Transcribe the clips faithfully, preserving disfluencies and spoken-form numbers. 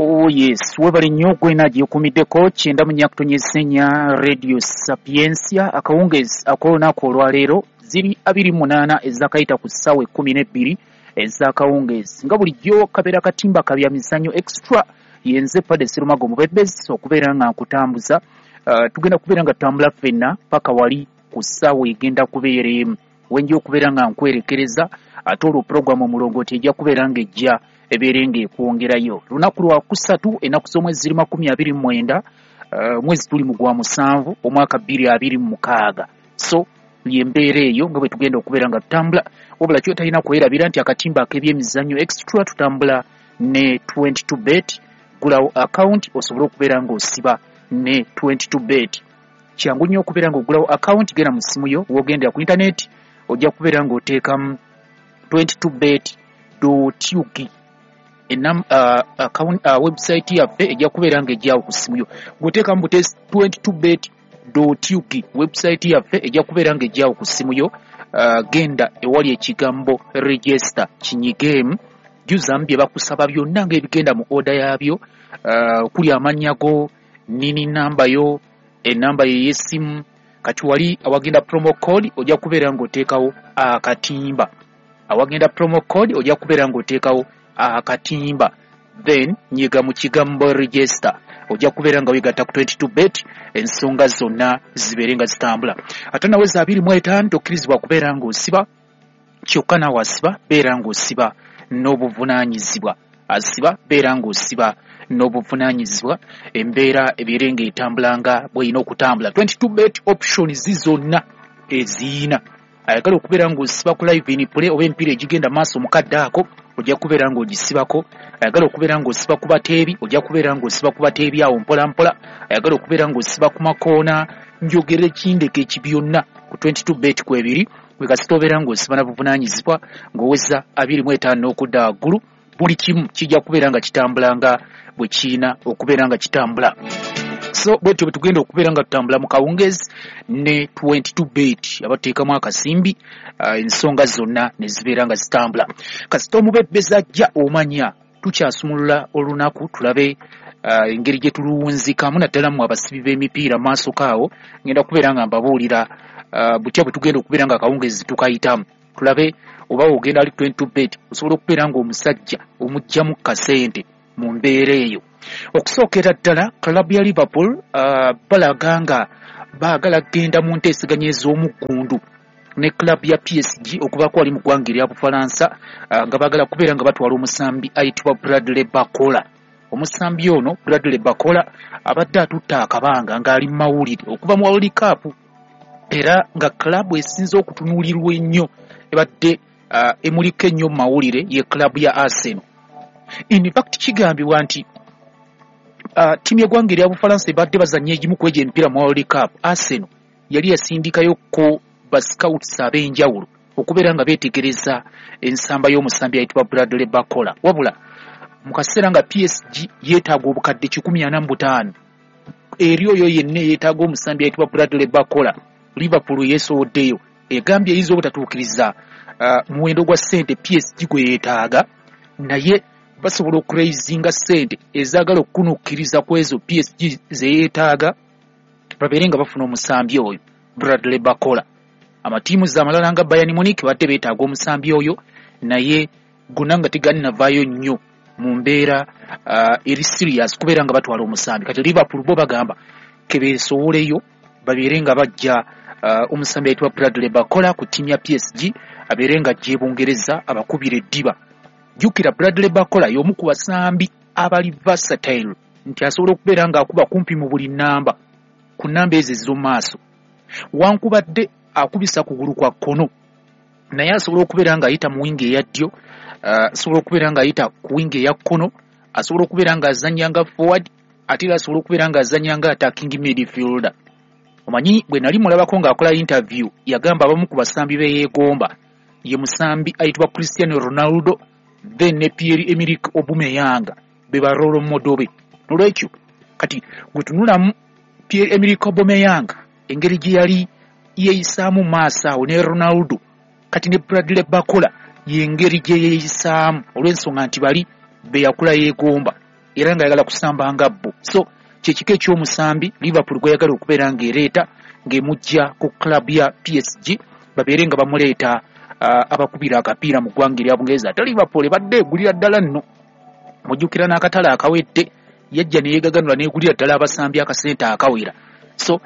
Oh yes, webale nnyo gwena gyekumiddeko kyenda mu nnya kutonnyeza ennya Radio Sapientia. Akawungeezi ak'olunaku olwaleero ziri abiri munaana ezakayita ku ssaawa ekkumi n'ebbiri ez'akawungeezi. Nga bulijjo kabeera katimba kabya mizannyo extra, yenze Padde Serumago Mubebezi okubeera nga nkutambuza. Uh, tugenda kubeera nga tutambula ffenna paka wali ku ssaawa egenda kubeera emu wenja okubeera nga nkwerekereza, ate olwo puroguramu omulongooti ejja kubeera ng'ejja ebeere ng'ekwongerayo. Lunaku lwa kusatu, ennaku z'omwezi ziri makumi abiri mu mwenda, uh, mwezi tuli mu gwa musanvu omwaka bbiri abiri mu mukaaga. So y'embeera eyo nga bwe tugenda okubeera nga tutambula. Wabula kyotalina kwerabira nti akatimba ak'ebyemizannyo extra tutambula ne twenty-two bet. Gulawo account osobole okubeera ng'osiba ne twenty-two bet. Kyangu nnyo okubeera ng'ogulawo account, genda mu ssimu yo w'ogendera ku internet ojja kubeera ng'oteekamu twenty-two bet dot U G. Enam, uh, account, uh, website yaffe ejja kubeera ng'ejjawo ku ssimu yo. Bw'oteekamu butesi twenty-two bet dot U G, website yaffe ejja kubeera ng'ejjawo ku ssimu yo. Uh, genda ewali ekigambo register kinyigeemu, jjuzamu bye bakusaba byonna ng'ebigenda mu order yaabyo, uh, kuli amannya go, nini namba yo, enamba ye y'essimu. Kati wali awagenda promo code ojja kubeera ng'oteekawo akatimba. Awagenda promo code ojja kubeera ng'oteekawo akatimba, then nyiga mu kigambo register, ojja kubeera nga weegatta ku twenty-two bet, ensonga zonna zibeere nga zitambula. Ate naweza abiri mu etaano tokkirizibwa kubeera ng'osiba, kyokka naawe asiba beera ng'osiba n'obuvunaanyizibwa. Asiba beera ng'osiba n'obuvunaanyizibwa, embeera ebeere ng'etambula nga bw'erina okutambula. twenty-two bet options zonna eziyina. Ayagala okubeera ng'osiba ku live in play oba emipiira egigenda maaso mu kadde ako ojja kubeera ng'ogisibako. Ayagala okubeera ng'osiba ku bateebi ojja kubeera ng'osiba ku bateebi awo mpola mpola. Ayagala okubeera ng'osiba ku makoona, njogere ekindeko ekibyonna ku twenty-two bet kwebiri. Bwe kasita obeera ng'osiba na buvunaanyizibwa ng'oweza abiri mu etaano n'okudda waggulu, buli kimu kijja kubeera nga kitambula nga bwe kirina okubeera nga kitambula. So bwetyo bwe tugenda okubeera nga tutambula mu kawungeezi ne twenty-two bet, abateekamu akasimbi, uh, ensonga zonna ne zibeera nga zitambula. Kasita omubebezi ajja omanya tukyasumulula olunaku tulabe uh, engeri gye tuluwunzikamu, naddala mu abasibi b'emipiira maaso kaawo. Ngenda kubeera nga mbabuulira uh, butya bwe tugenda okubeera nga akawungeezi tukayitamu, tulabe oba ogenda ali twenty-two bet osobola okubeera ng'omusajja omuggyamu kasente mu mbeera eyo. Okusookera ddala club ya Liverpool uh, balaga nga baagala kugenda mu nteeseganya ez'omuggundu ne club ya P S G okuvaako wali mu ggwanga erya Bufalansa, uh, nga baagala kubeera nga batwala omusambi ayitibwa Bradley Barcola. Omusambi ono Bradley Barcola abadde atutta akabanga ng'ali mu mawulire okuva mu World Cup, era nga club esinze okutunuulirwa ennyo ebadde uh, emuliko ennyo mu mawulire ye club ya Arsenal. In fact kigambibwa nti uh, ttiimu y'eggwanga erya Bufalansa ebadde bazannya egimu ku egyo emipiira mu World Cup, Arsenal yali yasindikayo ko ba scouts ab'enjawulo okubeera nga beetegereza ensamba y'omusambi ayitibwa Bradley Barcola. Wabula mu kaseera nga P S G yeetaaga obukadde kikumi ana mu butaano, eri oyo yenna yeetaaga omusambi ayitibwa Bradley Barcola, Liverpool yeesowoddeyo egambye eyinza obutatuukiriza uh, muwendo gwa ssente P S G gwe yeetaaga, naye basobola okuraisinga ssente ezaagala okukunukkiriza ku ezo P S G ze yeetaaga babeere nga bafuna omusambi oyo Bradley Barcola. Amatiimu amalala nga Bayern Munich badde beetaaga omusambi oyo, naye gonna nga tegannavaayo nnyo mu mbeera uh, eri serious kubeera nga batwala omusambi. Kati Liverpool bo bagamba ke beesowoleyo babeere nga bajja uh, omusambi ayitibwa Bradley Barcola ku ttiimu ya P S G abeere nga ajja e Bungereza abakubira eddiba. Jjukira Bradley Barcola y'omu ku basambi abali versatile, nti asobola okubeera ng'akuba kumpi mu buli nnamba ku nnamba ezo ez'omu maaso. Wankubadde akubisa kugulu kwa kkono, naye asobola okubeera ng'ayita mu wingi eya ddyo, asobola uh, okubeera ng'ayita ku wingi eya kkono, asobola okubeera ng'azannya nga forward, ate era asobola okubeera ng'azannya nga attacking midfielder. Omanyi bwe nali mulabako ng'akola interview, yagamba abamu ku basambi be yeegomba ye musambi ayitibwa Cristiano Ronaldo then ne Pierre-Emerick Aubameyang be ba role model be. Nolwekyo kati gwe tunulamu Pierre-Emerick Aubameyang engeri gye yali yeeyisaamu maaso awo ne Ronaldo, kati ne Bradley Barcola y'engeri gye yeeyisaamu olw'ensonga nti bali be yakula yeegomba. era ng'ayagala kusamba nga bo. So kyekika eky'omusambi Liverpool gweyagala okubeera ng'ereeta ng'emujja ku club ya P S G, babeere nga bamuleeta uh, abakubira akapiira mu ggwanga erya Bungereza. Ate Liverpool ebadde egulira ddala nno, mujjukira n'akatale akawedde yajja ne yeegaganula n'egulira ddala abasambi akasente akawera. So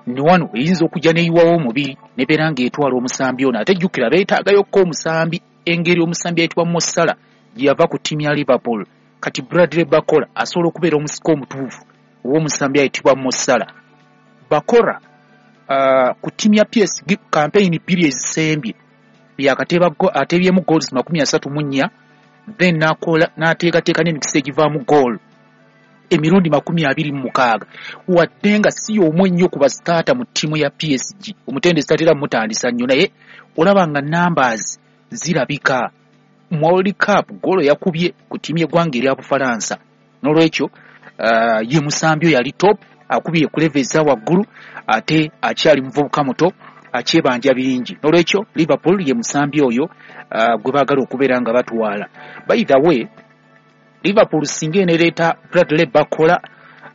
ni wano eyinza okujja n'eyiwawo omubiri nebeera ng'etwala omusambi ono. Ate jjukira beetaagayokko omusambi, engeri omusambi ayitibwa Mo Salah gye yava ku ttiimu ya Liverpool. Kati Bradley Barcola asobola okubeera omusika omutuufu ow'omusambi ayitibwa Mo Salah. Barcola uh, ku ttiimu ya P S G campaign bbiri ezisembye yakateeba ateebyemu goals makumi asatu mu nnya, then n'akola n'ateekateeka n'emikisa egivaamu goal emirundi makumi abiri mu mukaaga, wadde nga si y'omu ennyo ku basitaata mu ttiimu ya P S G. Omutendesi tatera mutandisa nnyo, naye olaba nga numbers zirabika. Mu World Cup goolo yakubye ku ttiimu y'eggwanga erya Bufalansa. N'olwekyo uh, ye musambi oyo ali top, akubye ku level eza waggulu, ate akyali muvubuka muto, akyebanja bingi. N'olwekyo Liverpool ye musambi oyo uh, gwe baagala okubeera nga batwala. By the way, Liverpool singa enereeta Bradley Barcola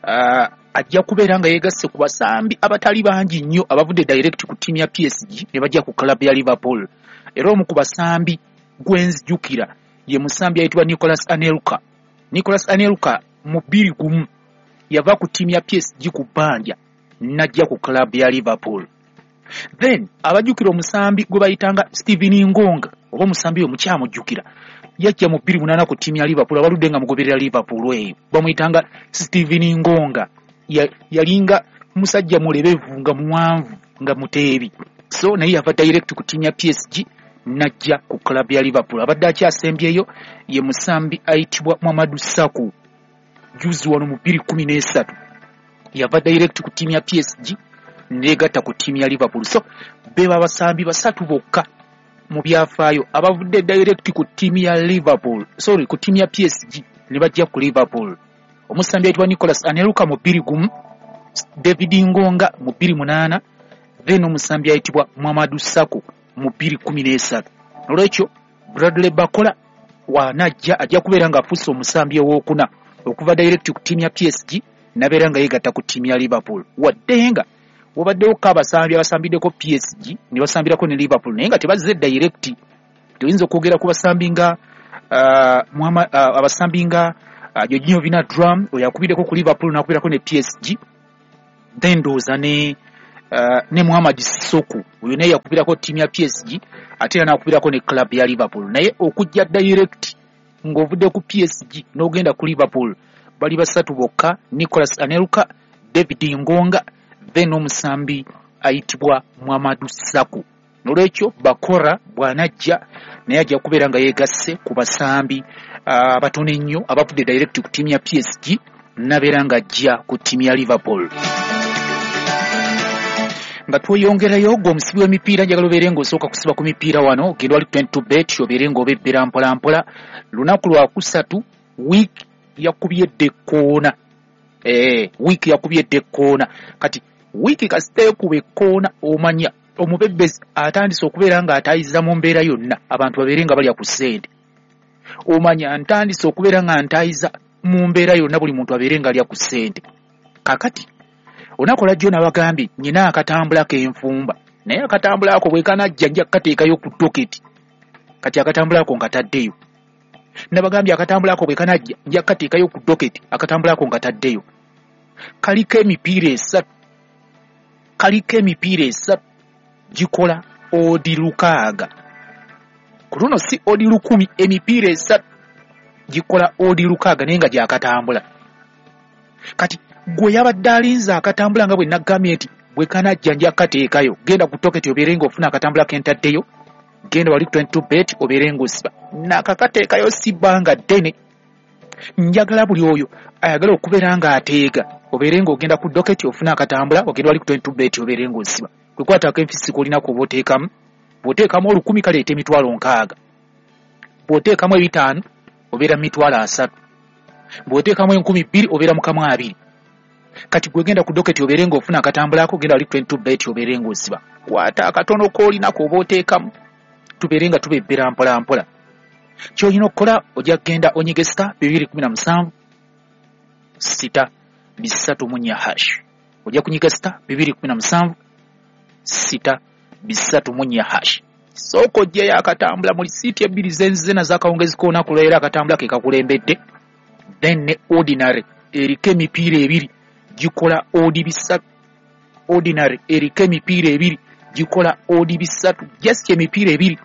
uh, ajja kubeera nga yeegasse ku basambi abatali bangi nnyo abavudde direct ku ttiimu ya P S G ne bajja ku club ya Liverpool. Era omu ku basambi gwe nzijukira ye musambi ayitibwa Nicolas Anelka. Nicolas Anelka mu bbiri gumu yava ku ttiimu ya P S G ku bbanja n'ajja ku club ya Liverpool. Then abajjukira omusambi gwe bayitanga Steven Ngonga, oba omusambi oyo mukyamujjukira, yajja mu bbiri munaana ku ttiimu ya Liverpool, abaludde nga mugoberera Liverpool eyo bamuyitanga Steven Ngonga. Yalinga musajja mulebevu nga muwanvu nga muteebi. So naye yava direct ku ttiimu ya P S G n'ajja ku club ya Liverpool. Abadde akyasembyeyo ye musambi ayitibwa Mamadou Sakho, juzi wano mu bbiri kumi n'esatu yava direct ku ttiimu ya P S G neegatta ku ttiimu ya Liverpool. So beba abasambi basatu bokka mu byafaayo abavudde direct ku ttiimu ya Liverpool, sorry, ku ttiimu ya P S G ne bajja ku Liverpool. Omusambi ayitibwa Nicolas Anelka mu bbiri gumu, David Ngonga mu bbiri munaana, then omusambi ayitibwa Mamadou Sakho mu bbiri kumi n'esatu. Olwekyo Bradley Barcola wanajja ajja kubeera ng'afuuse omusambi owookuna okuva direct ku ttiimu ya P S G n'abeera nga yeegatta ku ttiimu ya Liverpool. Wadde nga wabaddewo ko abasambi abasambiddeko P S G ne basambirako ne Liverpool, naye nga tebazze direct. Tuyinza okwogera ku basambi nga uh, Muhammad, uh, abasambi nga uh, Jorginho Wijnaldum oyo akubiddeko ku Liverpool n'akubirako ne P S G, then ndowooza ne uh, ne Mohamed Sissoko oyo naye yakubirako ttiimu ya P S G ate era n'akubirako ne club ya Liverpool. Naye okujja direct ng'ovudde ku P S G n'ogenda ku Liverpool bali basatu bokka: Nicolas Anelka, David Ngonga, then omusambi ayitibwa Mamadou Sakho. N'olwekyo Barcola bw'anajja naye ajja kubeera nga yeegasse ku basambi abatono ennyo abavudde direct ku ttiimu ya P S G n'abeera ng'ajja ku ttiimu ya Liverpool. Nga tweyongerayo, gwe omusibi w'emipiira njagala obeere ng'osooka kusiba ku mipiira wano, ogenda wali twenty-two bet obeere ng'obebbera mpola mpola. Lunaku lwa kusatu wiiki yakubye dda ekkoona, eh, wiiki yakubye dda ekkoona. Kati wiiki kasita ekuba ekkoona, omanya omubebbezi atandise okubeera ng'ataayiza mu mbeera yonna abantu babeere nga balya ku ssente. Omanya ntandise okubeera nga ntaayiza mu mbeera yonna buli muntu abeere ng'alya ku ssente. Kakati olunaku lwajjo nabagambye nnina akatambula k'enfumba, naye akatambula ako bwe kanajja nja kukateekayo ku doketi. Kati akatambula ako nkataddeyo. Nabagambye akatambula ako bwe kanajja nja kukateekayo ku doketi, akatambula ako nkataddeyo. Kaliko emipiira esatu, kaliko emipiira esatu gikola odi lukaaga. Ku luno si odi lukumi, emipiira esatu gikola odi lukaaga naye nga gyakatambula. Kati gwe yabadde alinze akatambula nga bwe nagambye nti bwe kanajja nja kukateekayo, genda ku toketi obeere ng'ofuna akatambula ke ntaddeyo, genda wali ku twenty-two bet obeere ng'osiba. Nakakateekayo si bbanga ddene. Njagala buli oyo ayagala okubeera ng'ateega obeere ng'ogenda ku doketi ofuna akatambula, ogenda wali ku twenty-two bet obeere ng'osiba. Kwe kwatako enfisi k'olina k'oba oteekamu, bw'oteekamu olukumi kaleeta emitwalo nkaaga, bw'oteekamu ebitaano obeera mu mitwalo asatu, bw'oteekamu enkumi bbiri obeera mu kamu abiri. Kati gwe genda ku doketi obeere ng'ofuna akatambula ako, genda wali ku twenty-two bet obeere ng'osiba. Kwata akatono k'olina k'oba oteekamu, tubeere nga tubebbera mpola mpola. Ky'olina okukola ojja kugenda onyige star bibiri kumi na musanvu sita bisatu mu nnya hash. Ojja kunyiga sita bibiri kumi na musanvu sita bisatu mu nnya hash. Sooka ojjeyo akatambula mu lisiiti ebbiri zenzize nazo akawungezi k'olunaku lwaleero, akatambula ke kakulembedde. Then ne ordinary eriko emipiira ebiri gikola odi bisatu. Ordinary eriko emipiira ebiri gikola odi bisatu. Just emipiira ebiri,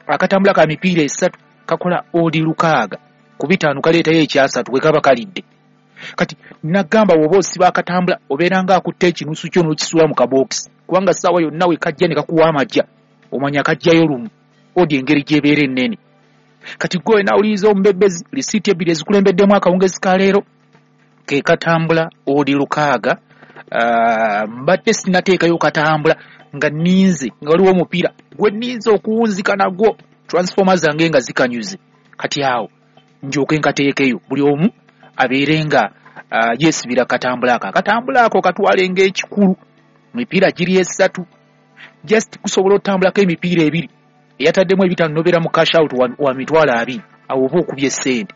akatambula ka mipiira esatu kakola odi lukaaga ku bitaano, kaleetayo ekyasatu bwe kaba kalidde. Kati nagamba bw'oba osiba akatambula obeera nga akutte ekinusu kyo n'okisuula mu kabookisi, kubanga ssaawa yonna we kajja ne kakuwa amagya omanya kajjayo lumu, odi engeri gy'ebeera ennene. Kati gwe nawuliriza omubebbezi, lisiiti ebbiri ezikulembeddemu akawungezi ka leero ke katambula odi lukaaga. Uh, mbadde sinateekayo katambula nga nninze, nga waliwo omupiira gwe nninze okuwunzika nagwo, transformer zange nga zikanyuze. Kati awo njooke nkateekeyo buli omu abeere nga uh, yeesibira katambula ako. Akatambula ako katwale ng'ekikulu, emipiira giri esatu, just kusobola otambulako emipiira ebiri, eyataddemu ebitaano nobeera mu cash out wa, wa mitwalo abiri, awo oba okubye essente.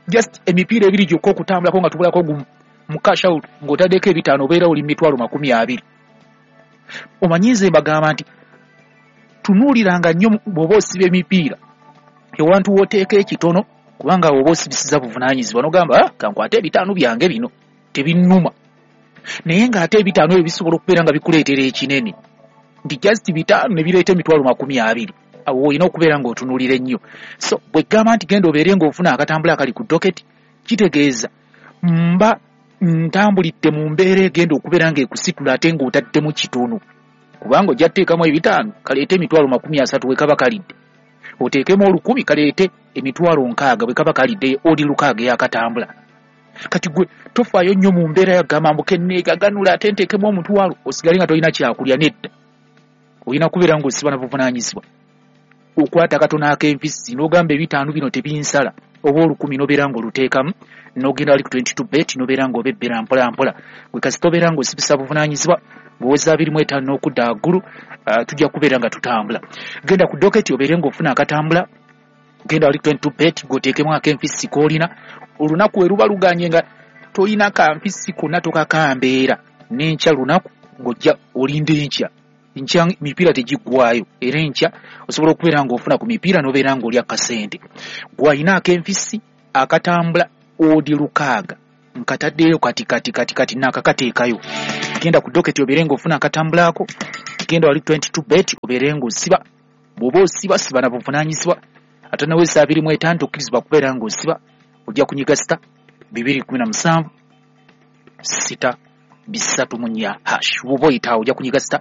Just emipiira ebiri gyokka okutambulako nga tubulako gumu mu cash out ng'otaddeko ebitaano obeera oli mitwalo makumi abiri. Omanyi nze mbagamba nti tunuuliranga nnyo bw'oba osiba emipiira ewantu w'oteeka ekitono, kubanga oba osibisiza buvunaanyizibwa n'ogamba ah, kankwate ebitaano byange bino tebinnuma, naye ng'ate ebitaano ebyo bisobola okubeera nga bikuleetera ekinene, nti just bitaano ne bireeta emitwalo makumi abiri. Awo olina okubeera ng'otunuulira ennyo. So bwe ggamba nti genda obeere ng'ofuna akatambula akali ku doketi, kitegeeza mba ntambulidde mu mbeera egenda okubeera ng'ekusitula ate ng'otaddemu kitono, kubanga ojja kuteekamu ebitaano kaleete emitwalo makumi asatu bwe kaba kalidde, oteekemu olukumi kaleete emitwalo nkaaga bwe kaba kalidde, odi lukaaga eyakatambula. Kati gwe tofaayo nnyo mu mbeera yagamba mbu kenneegaganula ate nteekemu omutwalo osigale nga tolina kyakulya. Nedda, olina kubeera ng'osiba na buvunaanyizibwa. Okwata akatono ak'enfisi n'ogamba ebitaano bino tebinsala, oba olukumi n'obeera ng'oluteekamu n'ogenda wali ku twenty two bet n'obeera ng'obebbera mpola mpola. Gwe kasita obeera ng'osibisa buvunaanyizibwa ng'oweza abiri mu etaano n'okudda waggulu, uh, tujja kubeera nga tutambula. Genda ku doketi obeere ng'ofuna akatambula, genda wali ku twenty two bet ng'oteekemu ak'enfisi k'olina. Olunaku we luba luganye nga tolina kanfisi konna tokakambeera, n'enkya lunaku ng'ojja olinda enkya. Enkya mipiira tegiggwayo, era enkya osobola okubeera ng'ofuna ku mipiira n'obeera ng'olya kasente. Gwe alina ak'enfisi akatambula odi lukaaga nkataddeyo kati kati kati kati naakakateekayo. Genda ku doketi obeere ng'ofuna akatambula ako, genda wali twenty two bet obeere ng'osiba. Bw'oba osiba siba na buvunaanyizibwa, ate naweesa abiri mu etaano tokkirizibwa kubeera ng'osiba. Ojja kunyiga sita bibiri kumi na musanvu sita bisatu mu nnya hash. Bw'oba oyitaawo ojja kunyiga sita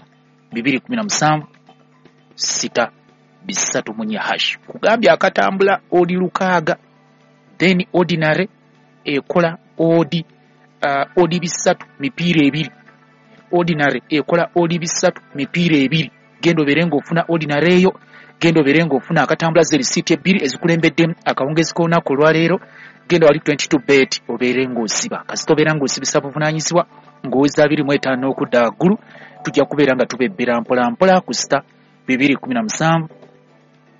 bibiri kumi na musanvu sita bisatu mu nnya hash. Kugambye akatambula odi lukaaga, then ordinary ekola odi uh, odi bisatu mipiira ebiri. Ordinary ekola odi bisatu mipiira ebiri. Genda obeere ng'ofuna ordinary eyo, genda obeere ng'ofuna akatambula ze risiiti ebbiri ezikulembeddemu akawungezi k'olunaku olwaleero. Genda wali twenty two bet obeere ng'osiba. Kasita obeera ng'osibisa buvunaanyizibwa ng'oweza abiri mu etaano n'okudda waggulu, tujja kubeera nga tubebbera mpola mpola ku sita bibiri kumi na musanvu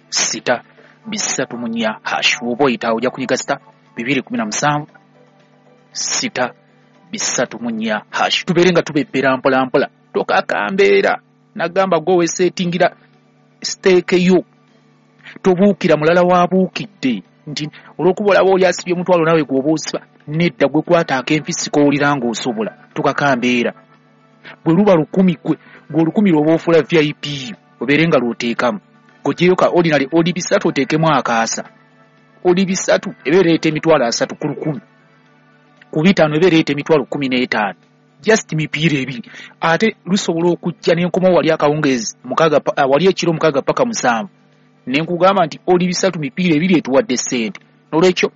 sita bisatu mu nnya hash. Bw'oba oyitaawo ojja kunyiga sita bibiri kumi na musanvu sita bisatu mu nnya hash. Tubeere nga tubebbera mpola mpola, tokakambeera. Nagamba gwe weeseetingira siteeke yo, tobuukira mulala waabuukidde nti olw'okuba olaba oli asibye omutwalo naawe gw'oba osiba. Nedda, gwe kwata ak'enfisi k'owulira ng'osobola, tokakambeera. Bwe luba lukumi gwe gwe olukumi lw'oba ofuula V I P obeere nga lw'oteekamu, g'oggyeyo ka ordinary odi bisatu oteekemu akaasa. Odi bisatu eba ereeta emitwalo asatu ku lukumi, ku bitaano eba ereeta emitwalo kkumi n'etaano. Just mipiira ebiri, ate lusobola okujja n'enkomawo wali akawungeezi mukaaga, wali ekiro mukaaga paka musanvu, ne nkugamba nti oli bisatu mipiira ebiri etuwadde ssente. N'olwekyo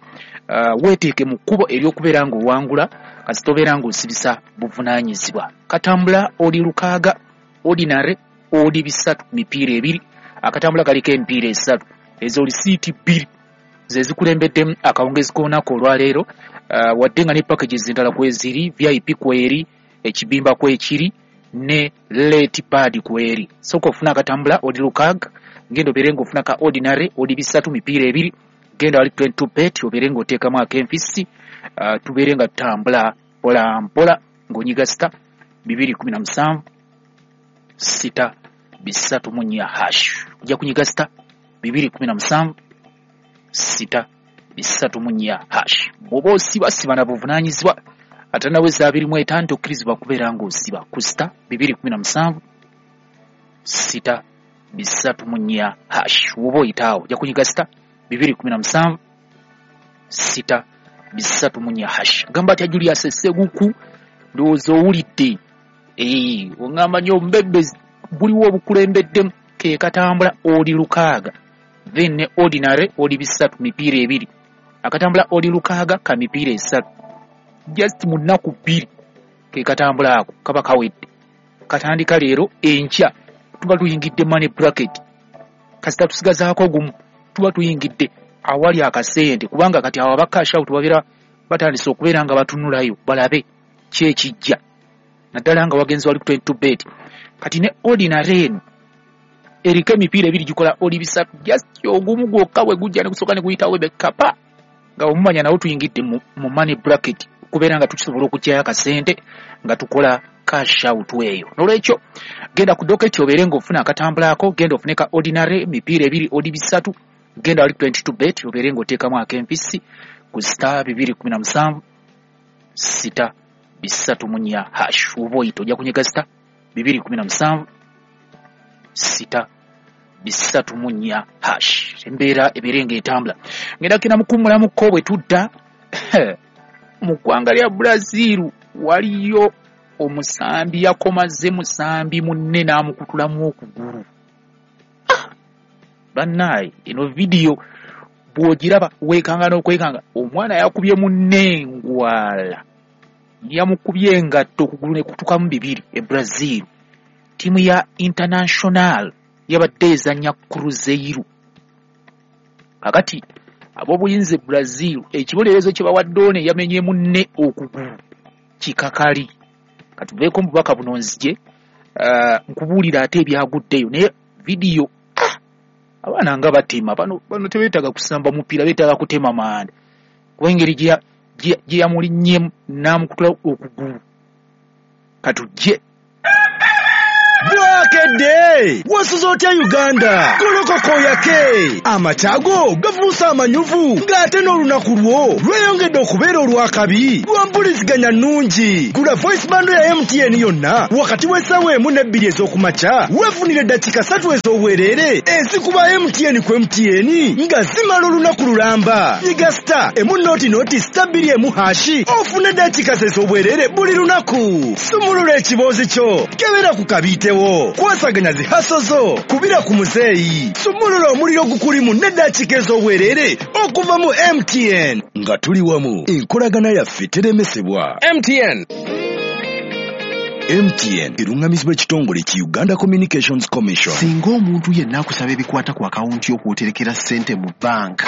uh, weeteeke mu kkubo ery'okubeera ng'owangula, kasita obeera ng'osibisa buvunaanyizibwa. Katambula oli lukaaga, ordinary odi bisatu mipiira ebiri, akatambula kaliko emipiira esatu, ezo lisiiti bbiri ze zikulembeddemu akawungezi k'olunaku olwaleero. Uh, wadde nga ne packages endala kweziri, V I P kweri, ekibimba kwekiri, ne late pad kweri. Sooka ofuna akatambula odi lukaaga, genda obeere ng'ofuna ka ordinary odi bisatu mipiira ebiri, Genda wali twenty-two bet obeere ng'oteekamu ak'enfisi, uh, tubeere nga tutambula mpola mpola ng'onyiga sita bibiri kumi na musanvu sita bisatu mu nnya hash. Ojja kunyiga sita bibiri kumi na musanvu sita bisatu mu nnya hash. Bw'oba osiba siba na buvunaanyizibwa, ate naweza abiri mu etaano tokkirizibwa kubeera ng'osiba ku sita bibiri kumi na musanvu sita bisatu mu nnya hash. Woba oyitaawo ojja kunyiga sita bibiri kumi na musanvu sita bisatu mu nnya hash. Gamba atya Julius Sseguku, ndowooza owulidde. Ee, oŋŋamba nnyo obubebbe buliwo obukulembeddemu ke katambula oli lukaaga, then ne ordinary oli bisatu mipiira ebiri, akatambula oli lukaaga ka mipiira esatu, just mu nnaku bbiri ke katambula ako kaba kawedde. Katandika leero, enkya tuba tuyingidde money bracket, kasita tusigazaako gumu tuba tuyingidde awali akasente, kubanga kati awo aba cash out babeera batandise okubeera nga batunulayo balabe ki ekijja, naddala nga wagenze wali ku twenty-two bet. Kati ne ordinary eno eriko emipiira ebiri gikola oli bisatu, just ogumu gwokka bwe gujja ne gusooka ne guyitawo bekapa nga omumanya nawo tuyingidde mu, mu money bracket okubeera nga tukisobola okuggyayo akasente nga tukola cash out eyo. Nolwekyo genda ku docket obeere ng'ofuna akatambulako, genda ofune ka ordinary mipiira ebiri oli bisatu, genda wali twenty-two bet obeere ng'oteekamu ak'empisi ku star bibiri kumi na musanvu sita bisatu mu nnya hash. Oba oyita ojja kunyiga sita bibiri kumi na musanvu sita bisatu mu nnya hash. Embeera ebeere ng'etambula. Ngenda kina mukummulamuko bwe tudda mu ggwanga lya Brazil waliyo omusambi yakomaze musambi munne n'amukutulamu okugulu. Ah! Bannaaye, eno vidiyo bw'ogiraba weekanga n'okwekanga, omwana yakubye munne engwala, yamukubye engatto okugulu ne kutukamu bibiri e Brazil. Ttiimu ya International yabadde ezannya Cruzeiro. Kakati ab'obuyinza e Brazil ekibonerezo kye bawadde ono eyamenye munne okugulu kikakali. Katuveeko mu bubaka buno nzije uh, nkubuulira ate ebyaguddeyo, naye vidiyo ah, abaana nga batema bano, bano tebeetaaga kusamba mupiira, beetaaga kutema manda, kuba engeri gye yamulinnyemu n'amukutula okugulu. Katujje. Bwakedde wasuze otya Uganda? Golokoko yake amakyago gafuuse amanyuvu, ng'ate n'olunaku lwo lweyongedde okubeera olw'akabi lwa mpuliziganya nnungi. Gula voice bando ya M T N yonna wakati w'essaawa emu n'ebbiri ez'okumakya, weefunire eddakiika ssatu ez'obwereere ezikuba M T N ku M T N nga zimala olunaku lulamba. Nyiga star emu noti noti star bbiri emu hashi ofune eddakiika ez'obwereere buli lunaku. Sumulula ekiboozi kyo, kebera ku kabiitewo, kwasaganya zihaso zo, kubira ku muzeeyi, sumulula omuliro gukulimu n'eddakiika ez'obwereere okuva mu M T N. Nga tuli wamu, enkolagana yaffe teremesebwa. M T N. M T N erungamizibwa ekitongole ki Uganda Communications Commission. Singa omuntu yenna akusaba ebikwata ku akawunti y'okwoterekera ssente mu banka,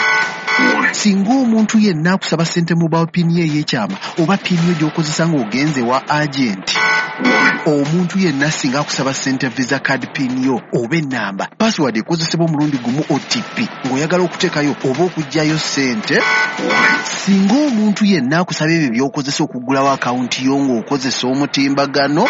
singa omuntu yenna akusaba ssente mobile pin ye ey'ekyama oba pin yo gy'okozesa ng'ogenze wa agenti, omuntu yenna singa akusaba ssente visa card pin yo oba ennamba, password ekozesebwa omulundi gumu O T P ng'oyagala okuteekayo oba okuggyayo ssente, singa omuntu yenna akusaba ebyo by'okozesa okuggulawo akawunti yo ng'okozesa omutimbagano,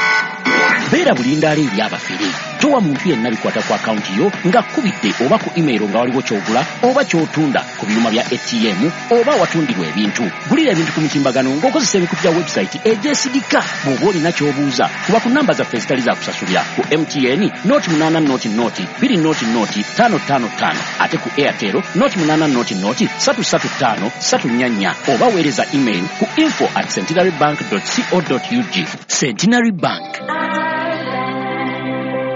beera bulindaala eri abafere. Towa muntu yenna bikwata ku akawunti yo ng'akubidde oba ku email nga waliwo ky'ogula oba ky'otunda ku byuma bya A T M oba awatundirwa ebintu. Gulira ebintu ku mitimbagano ng'okozesa emikutu gya website egyesigika. Bw'oba olina ky'obuuza, kuba ku namba zaffe ezitali za kusasulira ku M T N noti munaana noti noti bbiri noti noti ttaano ttaano ttaano, ate ku Airtel noti munaana noti noti ssatu ssatu ttaano ssatu nnya nnya, oba weereza email ku info at centenarybank dot co dot ug. Centenary Bank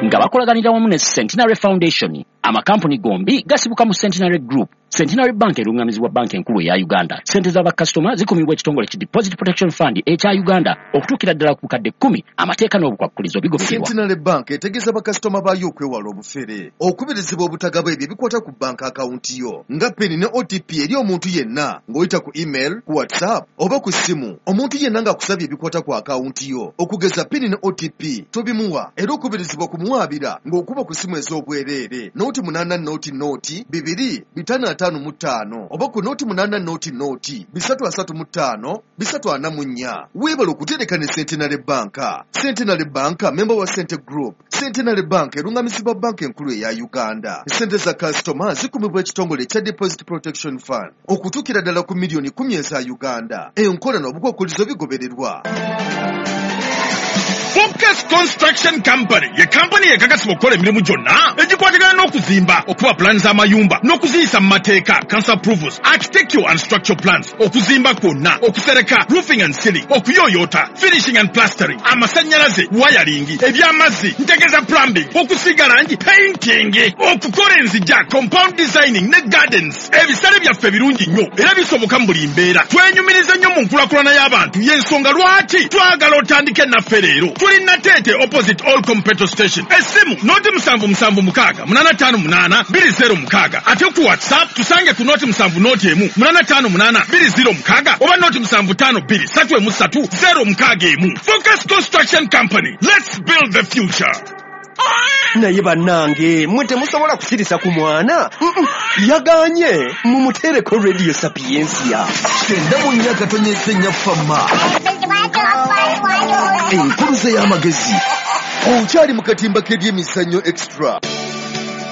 nga bakolaganira wamu ne Centenary Foundation. Amakampuni gombi gasibuka mu Centenary Group. Centenary Bank erungamizibwa banka enkulu eya Uganda. Ssente z'abakasitoma zikumibwa ekitongole ki Deposit Protection Fund ekya Uganda okutuukira ddala ku bukadde kkumi. Amateeka n'obukwakkulizo bigobererwa. Centenary Bank etegeeza bakasitoma baayo okwewala obufere, okubirizibwa obutagaba ebyo ebikwata ku banka akawunti yo nga pin ne O T P eri omuntu yenna ng'oyita ku email, ku WhatsApp oba ku ssimu. Omuntu yenna ng'akusabye ebikwata ku akawunti yo okugeza pin ne O T P tobimuwa, era okubirizibwa kumuwaabira ng'okuba ku ssimu ez'obwereere. nooti munaana nooti nooti bibiri bitaano ataano mu ttaano oba ku nooti munaana nooti nooti bisatu asatu mu ttaano bisatu ana mu nnya. Weebale okutereka ne Centenary Bank. Centenary Bank memba wa Sente Group. Centenary Bank erungamizibwa banka enkulu eya Uganda. Sente za kasitoma zikumibwa ekitongole ekya Deposit Protection Fund okutuukira ddala ku miliyoni kumi eza Uganda. Enkola n'obukwakkulizo bigobererwa. Focus Construction Company ye kampani ekakasibwa okukola emirimu gyonna egikwatagana n'okuzimba, okuba pulaani z'amayumba n'okuziyisa mu mateeka, council approvals, architectural and structural plans, okuzimba kwonna, okusereka, roofing and ceiling, okuyooyoota, finishing and plastering, amasannyalaze, wiring, eby'amazzi, ntegeeza plumbing, okusiiga langi, painting, okukola enzija, compound designing ne gardens. Ebisale byaffe birungi nnyo era bisoboka mu buli mbeera. Twenyumiriza nnyo mu nkulakulana y'abantu, y'ensonga lwaki twagala otandike naffe leero. Tuli Nateete opposite Olcom petrol station. Essimu noti musanvu musanvu mukaaga munaana ttaano munaana bbiri zero mukaaga, ate ku WhatsApp tusange ku noti musanvu noti emu munaana ttaano munaana bbiri zero mukaaga oba noti musanvu ttaano bbiri ssatu emu ssatu zero mukaaga emu. Focus Construction Company, let's build the future. Naye bannange, mmwe temusobola kusirisa ku mwana. Mm-mm, yaganye mumuteereko Radio Sapiensia. Kyenda mu nnya katonyeza ennya fama enkuluze y'amagezi. Okyali mu katimba k'ebyemizannyo Extra.